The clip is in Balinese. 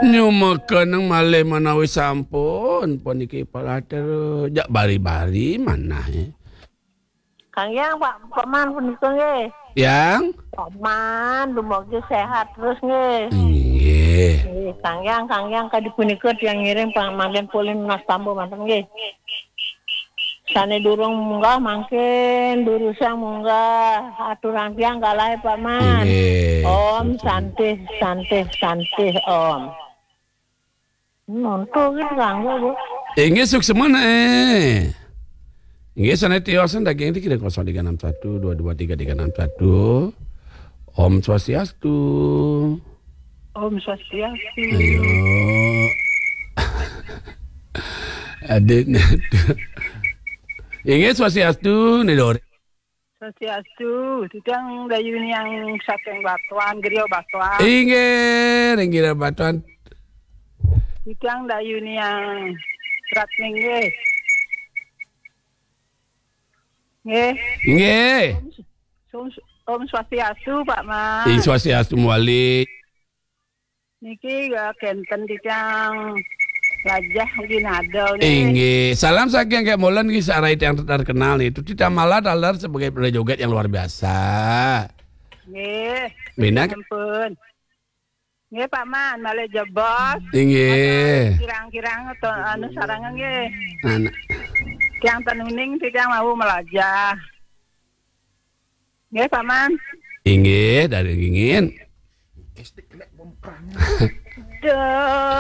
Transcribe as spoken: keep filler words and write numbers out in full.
Nyumekeneng malih menawi sampun, puniki palater jak bari-bari manah, eh. Kang Yang, Pak, Paman punika nggih. Yang? Paman, dumugi sehat terus nggih. Inggih. Nggih, Kang Yang, Kang Yang, kadi punika tiang ngiring pamanggen polih nastamba manten nggih. Sane durung munggah mangkin durusang munggah. Aturang tiang galahe Paman. Inggih. Om Santih, Santih, Santih Om. Nonto gitu kanggo, Bu. Inggih suksma, eh. Inggih sane tiosan daging tiga kosong tiga enam satu dua dua tiga tiga enam satu. Om Swastiastu. Om Swastiastu. Ayo. Adik. Inggih Swastiastu, Nidore. Swastiastu, titiang Dayuniang saking Batuan, Griya Batuan. Inggih, ring Griya Batuan. Titiang Dayuniang Ratning nggih. Nggih. Inggih. Om, Om, Om Swastiastu, Pak Mas. Ing Swastiastu mawali. Niki ya kenten titiang Lajah ugi nada nggih. Inggih. Salam saking Kek Molen nggih, sarai tiang terkenal nih. Itu titiang malah taler sebagai penari joget yang luar biasa. Nggih. Bina. Sampun. Nggih, Pak Man, malih jebos. Inggih. Kirang-kirang atau anu sarangan nggih. Anak. Tiang tenuning titiang mau melajah. Nggih, Pak Man. Inggih, dari ingin. Duh.